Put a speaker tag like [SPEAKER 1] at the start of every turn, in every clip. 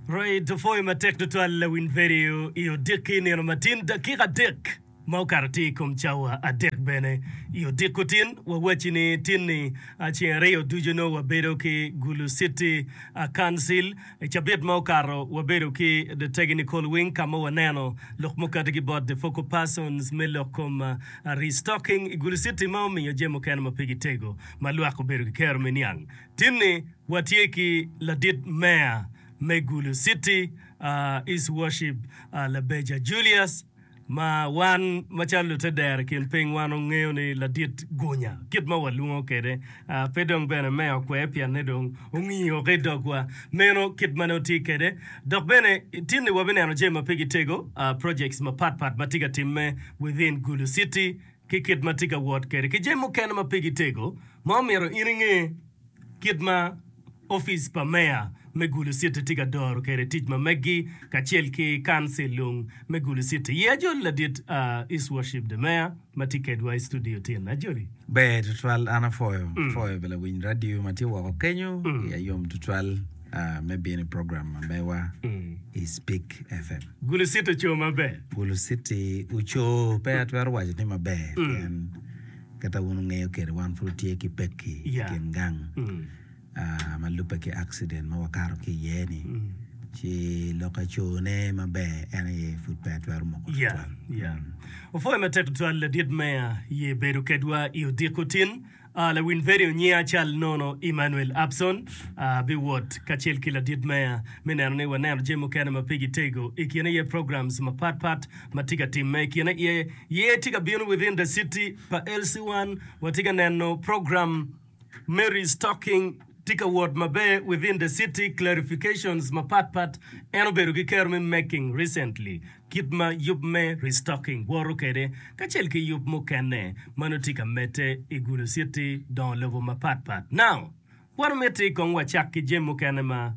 [SPEAKER 1] Right, opwoyo matek tutwal lawiny vedio i odiki nino matin dakika adek ma okato tye i kom cawa adek bene i odiko tin wawacci ni tin-ni ceng aryo ducu nongo wabedo ki Gulu City Council i cabit ma okato wabedo ki The Technical Wing ka ma waneno lok mukati ki bot The Focal Persons me lok kom restocking i Gulu City ma omiyo jami mukene ma pigi tego ma lwak obedo ki kero me niang. Tin-ni watye ki ladit meya me Gulu City, His Worship Labeja Julius, ma wan macalo lutedero i kin piny wan ongeyo ni ladit gunya kit ma walwongo kwede. Pe dong bene meya okwer pienne dong ongiyo ki i dogwa. Meno kit ma nongo tye kwede. Dok bene tin-ni wabineno jami ma pigi tego, projects mapatpat ma tye ka timme within Gulu City ki kit ma tye ka wot kwede ki jami mukene ma pigi tego ma omyero in inge kit ma opic pa meya me Gulu City tye ka doro kwede tic ma meggi kacel ki kancil lung me Gulu City. Ye ajoli ladit His Worship the Mayor ma tye kedwa i studio tin. Ajoli.
[SPEAKER 2] Ber tutwal an apwoyo apwoyo bene lawiny radio ma tye woko kenyo iya yom tutwal me bino i program ma mewa i Speak FM.
[SPEAKER 1] Gulu City oco maber.
[SPEAKER 2] Gulu City oco pe atwero waco ni maber pien kit ma wun wungeyo kwede wan pud watye ki pekki i kin gang ma lubbe ki accident ma wakato ki iye-ni ci lok acone maber en aye pud pe atwero moko tutwal.
[SPEAKER 1] Opwoyo matek tutwal ladit meya ye bedo kedwa i odiko tin. Lawiny vedio nyinga cal nono Emmanuel Abson biwot kacel ki ladit meya me neno ni waneno jami mukene ma pigi tego i kine iye programs mapat pat ma tye ka timme i kine iye ye tye ka bino within the city pa LC1 watye ka neno program me restocking tye ka wot maber within the city clarifications mapat pat en obedo ki kero me making recently Kit ma yub me restocking woto kwede kacel ki yub mukene ma nongo tye ka medde i Gulu City dongo lobo mapat pat. Now, wan omiti kong wacak ki jami mukene ma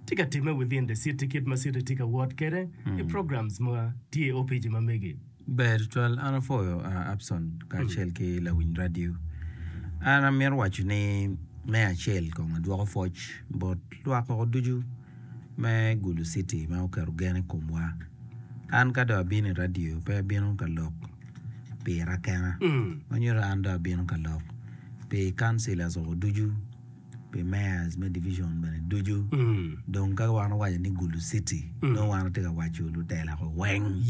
[SPEAKER 1] tye ka timme within the city kit ma city tye ka wot kwede i programs ma tye i opici ma megi.
[SPEAKER 2] Ber tutwal, an apwoyo Abson kacel ki lawiny radio. An amito waco ni me acel kong adwoko pwoc bot lwak woko ducu me Gulu City ma oketo gen i komwa. An ka dong abino i radio pe abino ka lok pira kena ma nyuto an dong abino ka lok pi councillors woko ducu, pi mayors me division bene ducu. Dong ka wan owaco ni Gulu City nongo wan watye ka waco lutela ko weng.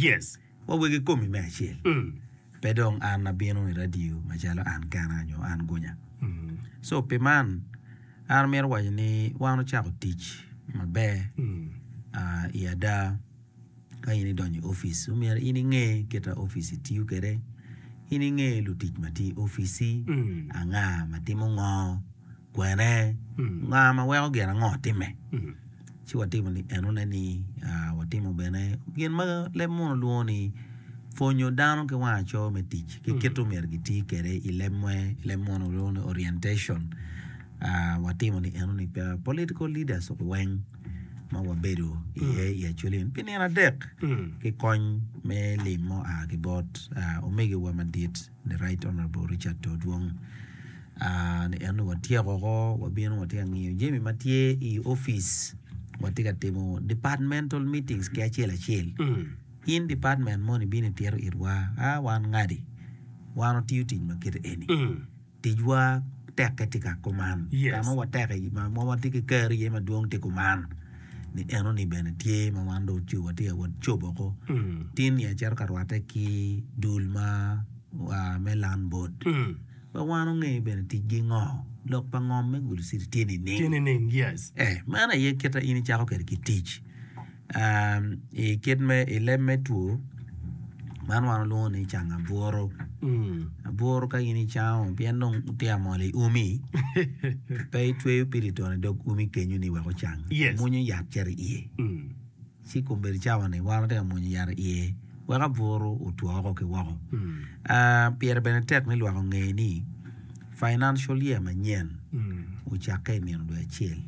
[SPEAKER 2] Wa wegi komi me acel. Pe dong an abino i radio macalo an kena nyo an gunya. So pi man, an amito waco ni wan ocako tic maber i ada ka in idonyo i opic omyero in inge kit ma opic tiyo kwede, in inge lutic ma tye i opic-ci, anga ma timo ngo, kwene, nga ma weko gin ango timme. Ci watimo ni enone ni watimo bene gin ma leb munu lwongo ni pwonyo dano ki wang aco me tic ki kit omyero giti kwede i leb leb munu lwongo ni orientation. Watimo ni enoni pa political leaders weng ma wabedo iye i Acholi pi nino adek ki kony me lim ma oa ki bot omegiwa madit The Right Honourable Richard Todwong ni en dong watyeko woko wabino watye ka ngiyo jami ma tye i opic watye ka timo departmental meetings ki acel acel in department moni ibino itito itwa a wan ngadi wan watiyo tic ma kite eni ticwa tekke tye ka kuman ka ma wateke ma watye ki kero iye madwong tye kuman ni enoni bene tye ma wan dong watye ka wot cobo woko tin ni acito ka rwatte ki dul ma me land board wek wan onge bene ticgi ngo lok pa ngom me Gulu city tye nining ee meno aye kit ma in icako kwede ki tic I kit me i leb me two man wan walwongo ni cango aburu aburu ka in icango pien dong tye ka mol i umi pe itweyo piriton i dog umi kenyo ni wek ocang imwonyo yat cito iye ci kombeddi cawa-ni wan watye ka mwonyo yat iye wek aburu otwo woko ki woko pire bene tek ni lwak onge ni financial year manyen ocakke i nino dwe acel.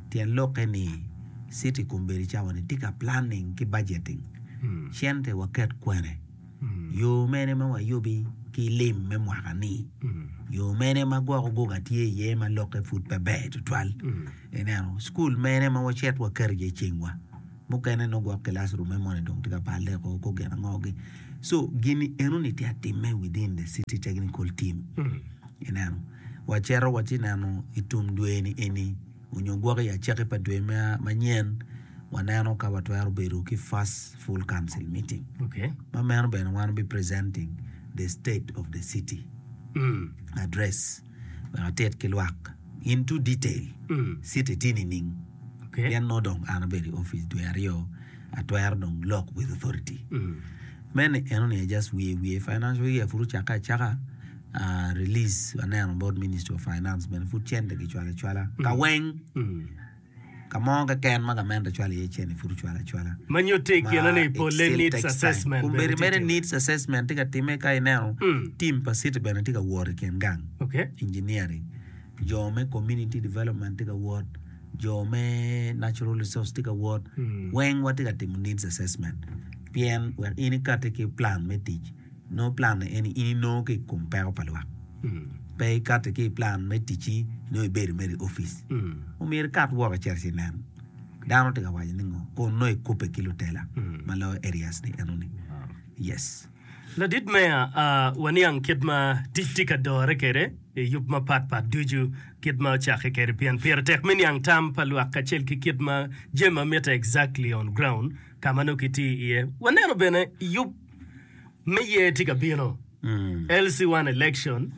[SPEAKER 2] Tyen lokke ni city kombeddi cawa ni tye ka planning ki budgeting cente waket kwene, yo mene ma wayubi ki lim me mwaka ni. Yo mene ma gwok oguga tye iye ma lokke pud pe ber tutwal? Ineno, cukul mene ma wacit waket iye cengwa? Mukene nongo gwok kilac-rumme moni dong tye ka balle oko kor gin ango-gi. So, gin-ni enoni tye ka timme within the city technical team. Ineno, wacito watye neno i tum dwe-ni eni onyo gwok i acakki pa dwe manyen, waneno ka watwero bedo ki first full council meeting. Ma meno bene wan wabi presenting the state of the city address wek atit ki lwak into detail city tye nining pien nongo dong an abedo i opic dwe aryo atwero dong lok with authority. Meno enoni aye just wiye wiye financial year pud ocakke acaka release aneno bot ministry of finance bene pud cente kicwalo acwala ka weng. Ka mo keken ma gamente cwalo iye cente pud ocwalo acwala.
[SPEAKER 1] Ma nyutte i kine ni polle needs assessment bene
[SPEAKER 2] Kombeddi mere needs assessment tye ka timme ka ineno team pa city bene tye ka wot i kin gang engineering, jo me community development tye ka wot, jo me natural resource tye ka wot, weng watye ka timo needs assessment pien wek in ikati ki plan me tic. Nongo plan ni eni in inongo ki i kom peko pa lwak. Pe ikati ki i plan me ticci nongo ibedo mere i opic. Omyero ikat woko icit ci inen dano tye ka waco ni ngo kun nongo ikubbe ki lutela ma loyo areas ni eno ni. Yes.
[SPEAKER 1] Ladit Meya, waniang kit ma tic tye ka dore kwede i yub mapat pat ducu kit ma ocakke kwede pien pire tek me niang tam pa lwak kacel ki kit ma jami ma mitte exactly on ground ka ma nongo kitiyo iye. Waneno bene yub me yer tye ka bino, LC1 election,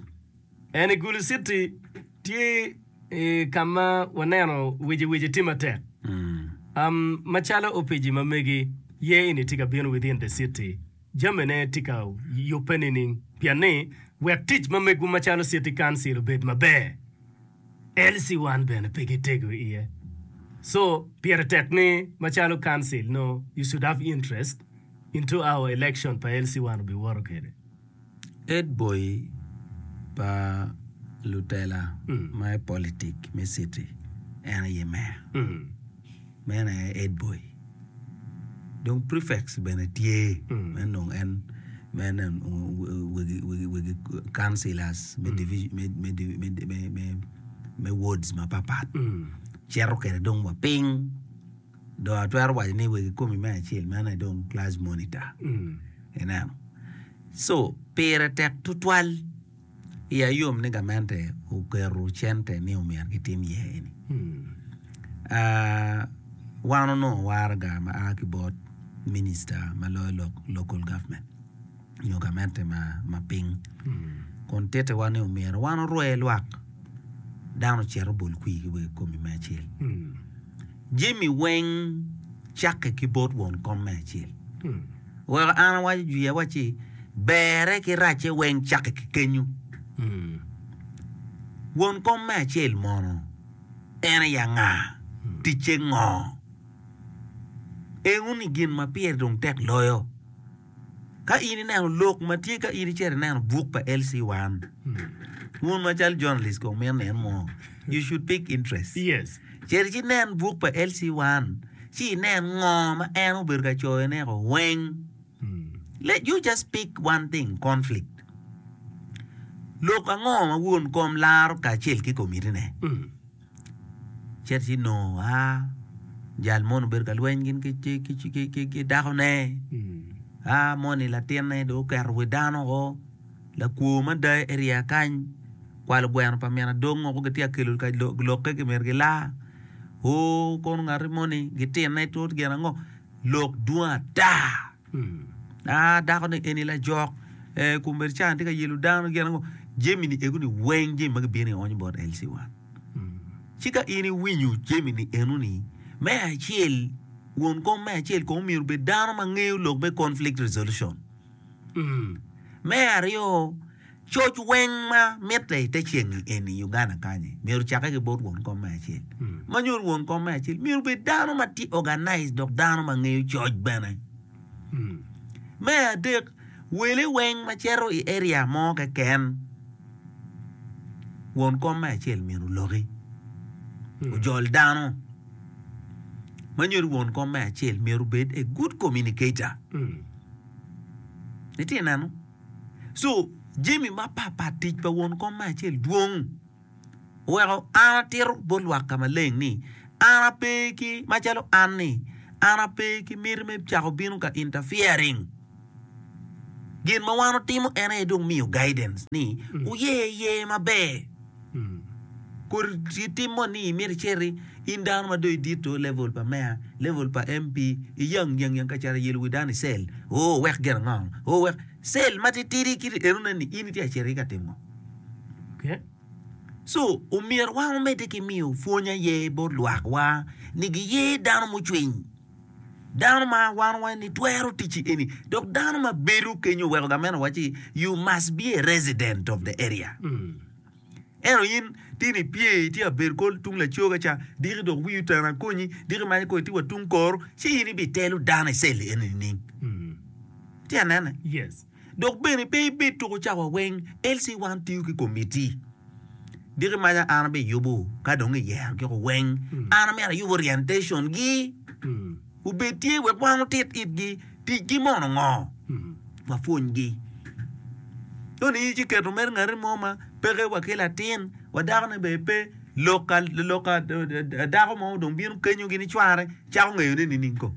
[SPEAKER 1] en i Gulu City tye i ka ma waneno wici wici tye matek. Um, macalo opiji ma megi, yer eni tye ka bino within the city, jamine tye ka yubbe nining? Pien ni wek tic ma megwu macalo city council obed maber, LC wan bene pe gitego iye. So, pire tek ni macalo council no you should have interest into our election pa LC wan obiwoto kede.
[SPEAKER 2] Ed boy pa lutela ma i politik me city en aye meya. Meno aye head boy. Dong prefects bene tye me nongo en me neno wegi wegi wegi councillors me division me me me me me me wards mapapat cito kwede dong wa piny dong atwero waco ni wegi komi me acel meno aye dong class monitor ineno so pire tek tutwal. Iya yom ni gamente oketo cente ni omyero gitim iye eni. Wan onongo waraga ma a ki bot minista ma loyo lok local government nyo gamente ma piny kun tittiwa ni omyero wan orwe lwak dano ocit obol kwir ki wegi komi me acel. Jami weng cakke ki bot won kom me acel. Oweko an awaco jwi awacci berre ki racce weng cakke ki kenyu. Won kom me acel mono en aye anga? Ticce ngo? Eno-ni gin ma pire dong tek loyo. Ka in ineno lok ma tye ka in icito ineno buk pa LC1, wun macalo journalist kong mito nino mo, you should pick interest.
[SPEAKER 1] Yes.
[SPEAKER 2] Cit ci nen buk pa LC1 ci inen ngo ma en obedo ka coyone ko weng. Let you just pick one thing, conflict. Lok ango ma won kom laro kacel ki komitine? Cit ci nongo aa jal moni obedo ka lweny gin ki dakone, aa moni latinne dong oketo wi dano woko, lakwor mada i area kany kwalo gweno pa min adong woko gitye ka kelo ka lokke myero gilar, oo kono ngati moni gitinne tut gin ango lok dwong ata. Aa dako ni eni lajok ee kombeddi ca tye ka yelo dano gin ango jami-ni ego-ni weng jami ma gibino ionyo bot LC1. Ci ka in iwinyo jami-ni enoni, me acel, won kom me acel kong myero obed dano ma ngeyo lok me conflict resolution. Me aryo, coc weng ma mitte i te ceng-ngi eni i Uganda kany-nyi myero ocakke ki bot won kom me acel. Ma nyuto ni won kom me acel myero obed dano ma tye organized dok dano ma ngeyo coc bene. Me adek, wele weng ma cito i area mo keken, won kom me acel myero oloki, ojol dano. Ma nyuto ni won kom me acel myero obed a good communicator. Itye ka neno? So. Jami mapatpat tic pa won kom me acel dwong. Oweko an atito bot lwak ka maleng ni, an ape ki, macalo an ni, an ape ki miti me cako bino ka interfering. Gin ma wan otimo en aye dong miyo guidance ni wuyer yer maber. Kodi tim mo ni imito iciti in dano ma dong idito level pa meya, level pa MP, iyang yang yang ka cito ayelo wi dano i cell, oo wek gin ango, oo wek cell matitidi kiti enone ni in itye ka cito iye ka timo ngo? So omyero wan wamedde ki miyo pwony aye bot lwakwa ni giyer dano mucwiny, dano ma wan wawaco ni twero tic eni dok dano ma bedo kenyo oweko gamente owacci you must be a resident of the area. Ento in tye ni ipye itye ka bedo kor tung lacoga ca diki dok wii oteno akonyi diki manyo kong itye wa tung kor ci in ibitelo dano i cell eni nining? Itye ka nene? Dok bene pe ibed tuko cawa weng LC wan tiyo ki komiti. Diki maca an abiyubo ka dong iyero giko weng an amyero ayub orientation gi obed tye wek wan otit itgi tic gi mono ngo wapwony gi. Ento in ci keto mere ngati mo ma peke wa ki latin wa dako ne bene pe lok ka dako mo dong bino kenyo gini cware cako ngeyo ne nining ko.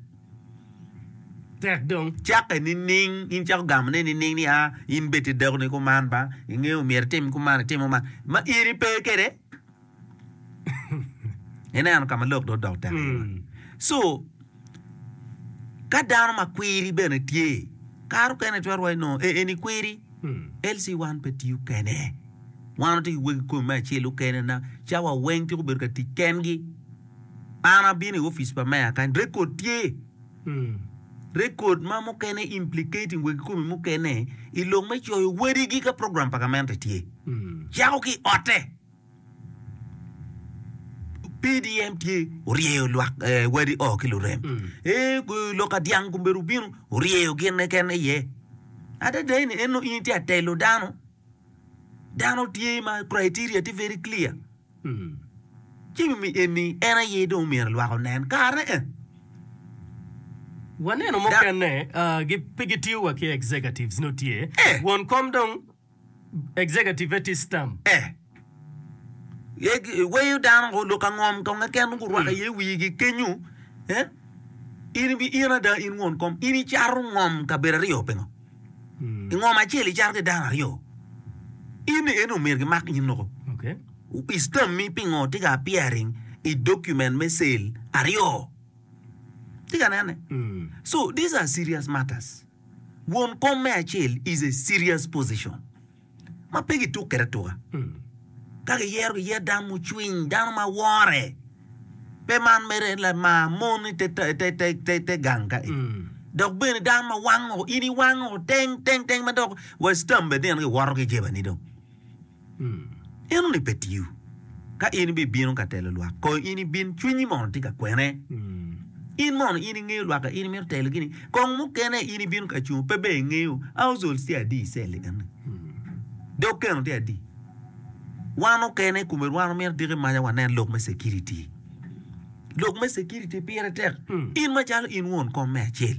[SPEAKER 1] Tek dong.
[SPEAKER 2] Cakke nining? In icako gamone nining ni a in bed tye dakoni kuman ba, ingeyo myero itim kuman itimo man ma in ipe kwede? Ineno ka ma lok dong odok tek iye ba? So, ka dano ma kwiri bene tye, kare okene itwero waco nongo ee eni kwiri, LC wan pe tiyo kene. Wan watye ki wegi komi me acel okene na cawa weng tiko bedo ka tic kengi. An abino i opic pa meya kany, rekod tye. Rekod ma mukene implicating wegi komi mukene i lok me coyo wadigi ka program pa gamente tye. Cako ki i otte. PDM tye oryeyo lwak wadi o ki lurem. Ee lok ka dyang kombedo obino oryeyo gin keken iye. Adada eni en nongo in itye ka telo dano. Dano tye ma criteria tye very clear. Jami mi eni en aye dong myero lwak onen kare en.
[SPEAKER 1] Waneno mukene pe gitiyo wa ki executives nongo tye won kom dong executive tye stamp.
[SPEAKER 2] Weyo dano lok angom kong keken gurwako iye wigi kenyo in in ada in won kom in icato ngom kabedo aryo pingo? I ngom acel icato ki dano aryo in ni eni omyero gimak in loko. I stammi pingo tye ka appearing i document me sale aryo? Tye ka nene? So these are serious matters. Won kom me acel is a serious position ma pe gituk kwede atuka. Ka giyero giyer dano mucwiny, dano ma wore. Pe man mere lamar mon i te gang ka eni. Dok bene dano ma wango, in iwango teng teng teng ma dok wa stamp bene nino giwoto ki jebani dong. Enoni pe tiyo. Ka in ibibino ka telo lwak, kong in ibin cwinyi mono tye ka kwene. In mono in ingeyo lwak ka in imito telogi ni, kong mukene in ibino ka cungo pe ber ingeyo households tye adi i cell-li eni. Dog keno tye adi. Wan okene kome wan omito diki maca wanen lok me security. Lok me security pire tek. In macalo in won kom me acel.